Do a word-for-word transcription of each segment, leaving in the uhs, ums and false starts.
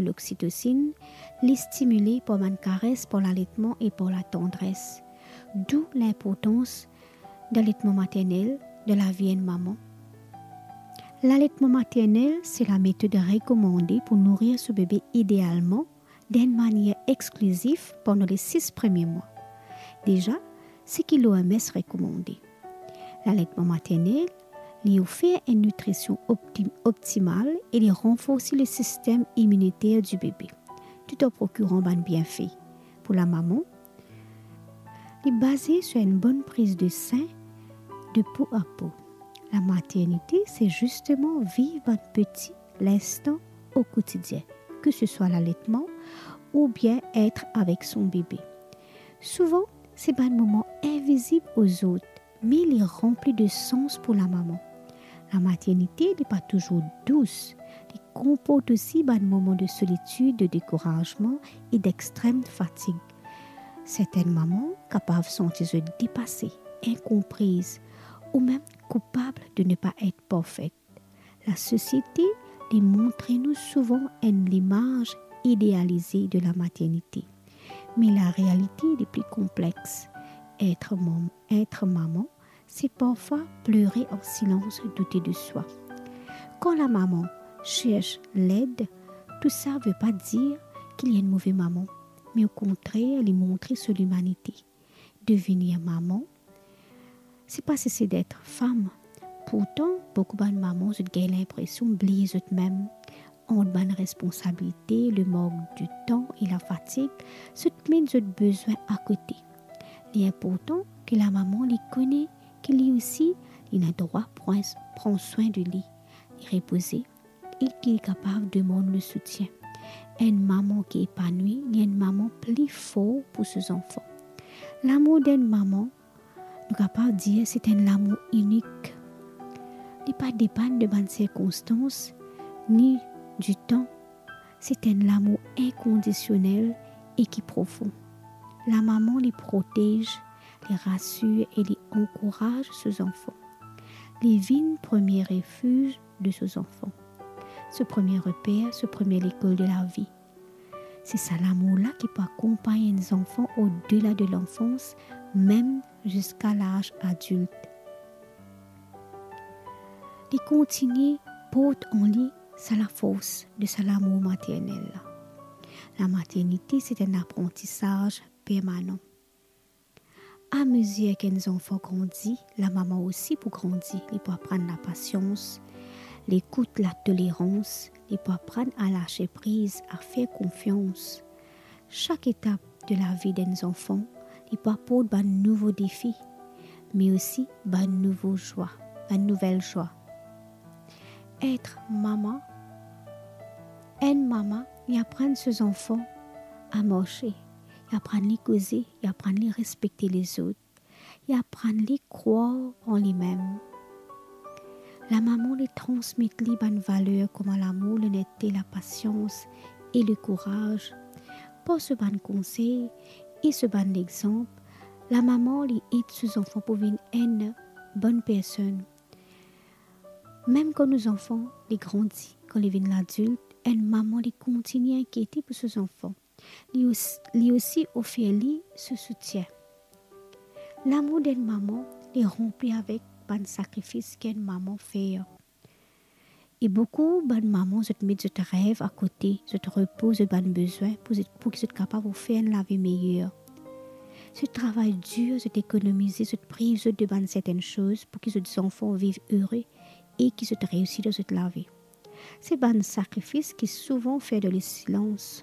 l'oxytocine, li stimile par bann kares, par laletman e par latandres. D'où linportans dan letman maternel dan lavi enn mama. Laletman maternel se lametod rekomande pou nourir so bebe idealman dan enn manier exklizif pandan le sis premie mwa. Deza, seki l'O M S rekomande. Laletman maternel, li ofer enn nitrision opti-, optimal e li ranforsi le sistem iminiter di bebe, tout an prokiran bann bienfe pou lamama. Li baze sur enn bonn priz de sin de po a po. Lamaternite, se zisteman viv bann peti linstan o kotidien, ke se swa laletman oubien et avek son bebe. Souvan, se bann moman invizib o zot, me li ranpli de sans pou lamama. Lamaternite, li pa touzour dous, li konport osi bann moman de solitid, de dekourazman e dextrem fatig. Sertenn mama kapav santi zot depase, inkonpriz ou mem koupab de ne pa et parfet. Lasosiete, li montre nou souvan enn limaz idealize de lamaternite. Me larealite, li pli konplex. Et mam-, et mama, se parfwa plere an silans, doute de swa. Kan lamama sers led, tou sa ve pa dir ki li enn move mama, me o kontrer, li montre so limanite. Devenir mama, se pa sese d'et fam. Pourtan, boukou bann mama, zot gagn linpresion bliye zot mem. Ant bann responsabilite, le mank de tan e lafatig, zot met zot bezwin akote. Li inportan ki lamama, li kone ki li osi, li ena drwa pran, pran swin de li, li repoze, e ki li kapav demann le soutien. Enn mama ki epanwi, li enn mama pli for pou so zanfan. Lamour d'enn mama, nou kapav dir, se enn lamour inik. Li pa depann de bann sirkonstans, ni di tan. Se enn lamour inkondisionel e ki profon. Lamama, li protez, li rasir e li ankouraz so zanfan. Li vinn premie refiz de so zanfan, so premie reper, so premie lekol de lavi. Se sa lamour la ki pou akonpagn enn zanfan odela de lanfans, mem ziska laz adilt. Li kontigne port an li sa lafors de sa lamour maternel la. Lamaternite, se enn aprantisaz permanan. Amezir ki enn zanfan grandi, lamama osi pou grandi. Li pou aprann lapasians, lekout, latolerans, li pou aprann a lase priz, a fer konfians. Sak etap de lavi d'enn zanfan, li pou aport bann nouvo defi, me osi bann nouvo zwa, bann nouvel zwa. Et mama, enn mama, li aprann so zanfan a marse, li aprann li koze, li aprann li respekte lezot, li aprann li krwar an limem. Lamama, li transmet li bann valer kouma lamour, lonerte, lapasians e lekouraz. Par so bann konsey e so bann lexanp, lamama, li ed so zanfan pou vinn enn bonn personn. Mem kan nou zanfan, li grandi, kan li vinn ladilt, enn mama, li kontigne inkiete pou so zanfan. Li os-, li osi ofer li so soutien. Lamour d'enn mama, li ranpli avek bann sakrifis ki enn mama fer. E boukou bann mama, zot met zot rev akote, zot repo, zot bann bezwin pou zot, pou ki zot kapav ofer enn lavi meyer. Zot travay dir, zot ekonomize, zot priv zot de bann sertenn soz pou ki zot zanfan viv ere e ki zot reisi dan zot lavi. Se bann sakrifis ki souvan fer dan lesilans.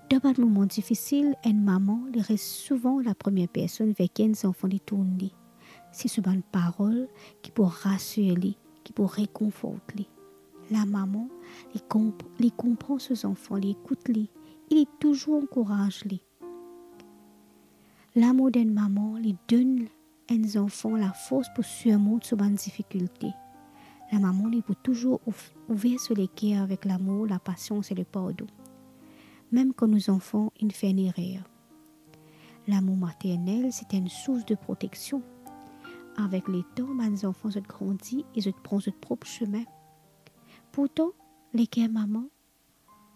Dan bann moman difisil, enn mama, li res souvan lapremier personn ver ki enn zanfan li tourn li. Se so bann parol ki pou rasir li, ki pou rekonfort li. Lamama, li konp-, li konpran so zanfan, li ekout li, e li touzour ankouraz li. Lamour d'enn mama, li donn enn zanfan lafors pou sirmont so bann difikilte. Lamama, li pou touzour ouf-, ouver so leker avek lamour, lapasians e lepardon, mem kan nou zanfan inn fer enn erer. Lamour maternel, se enn sours de proteksion. Avek letan, bann zanfan, zot grandi e zot pran zot prop semin. Pourtan, leker mama,